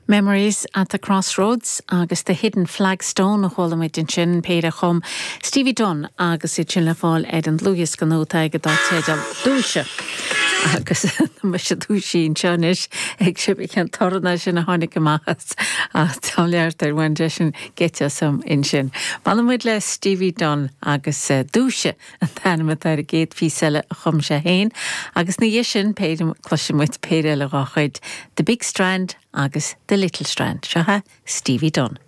Memories at the Crossroads agus The Hidden Flagstone a chuala muid ansin, péire a chum Stevie Dunne agus iad sin le fáil ar an dlúthdhiosca nua atá aige dar teideal Dúisigh. Agus tá mise dúisithe anseo anois ag cibé cén torann é sin a tháinig amach as ach tá leart ar bhain seisean geit asam ansin. Fanfaidh muid le Stevie Dunne agus Dúisigh an t-ainm atá ar an gcéad phíosa eile a chum sé féin agus ina dhiaidh sin cloisfidh muid péire eile dhá chuid, The Big Strand agus The Little Strand. Seo é Stevie Dunne.